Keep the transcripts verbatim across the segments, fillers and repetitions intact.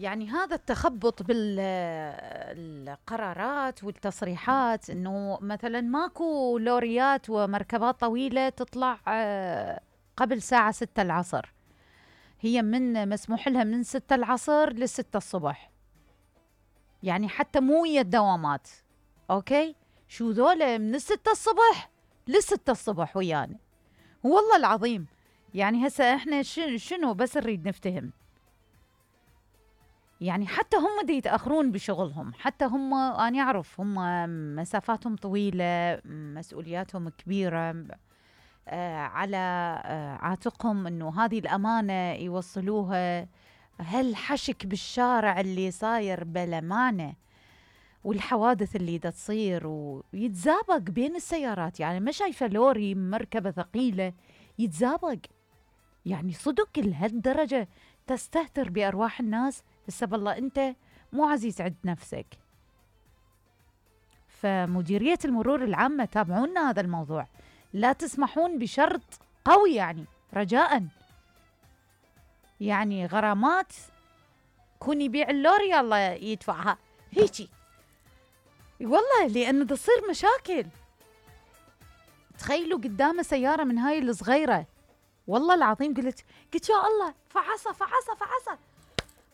يعني هذا التخبط بالقرارات والتصريحات، انه مثلا ماكو لوريات ومركبات طويلة تطلع قبل ساعة ستة العصر، هي من مسموح لها من ستة العصر لستة الصبح، يعني حتى مو ويا الدوامات. اوكي، شو ذولا من الستة الصبح لستة الصبح ويانا، والله العظيم. يعني هسه احنا شنو بس نريد نفتهم، يعني حتى هم دي يتأخرون بشغلهم، حتى هم أنا أعرف هم مسافاتهم طويلة، مسؤولياتهم كبيرة، آه على آه عاتقهم إنه هذه الأمانة يوصلوها. هالحشك بالشارع اللي صاير بلمانة، والحوادث اللي دا تصير ويتزابق بين السيارات، يعني ما شايفة لوري مركبة ثقيلة يتزابق، يعني صدق لهالدرجة تستهتر بأرواح الناس. هسه بالله أنت مو عزيز عند نفسك. فمديرية المرور العامة تابعونا هذا الموضوع، لا تسمحون بشرط قوي، يعني رجاء، يعني غرامات كون يبيع اللوري الله يدفعها هيجي، والله لأنه تصير مشاكل. تخيلوا قدامه سيارة من هاي الصغيرة، والله العظيم قلت قلت يا الله، فعصة فعصة فعصة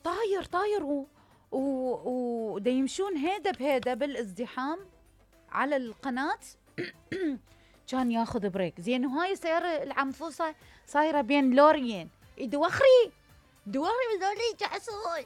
طاير طاير و و و دا يمشون هيدا بهيدا بالازدحام على القناة. كان ياخذ بريك زين، وهاي السيارة العنفوصة صايرة بين لوريين، دوخري دوخري ذولي جاسوس.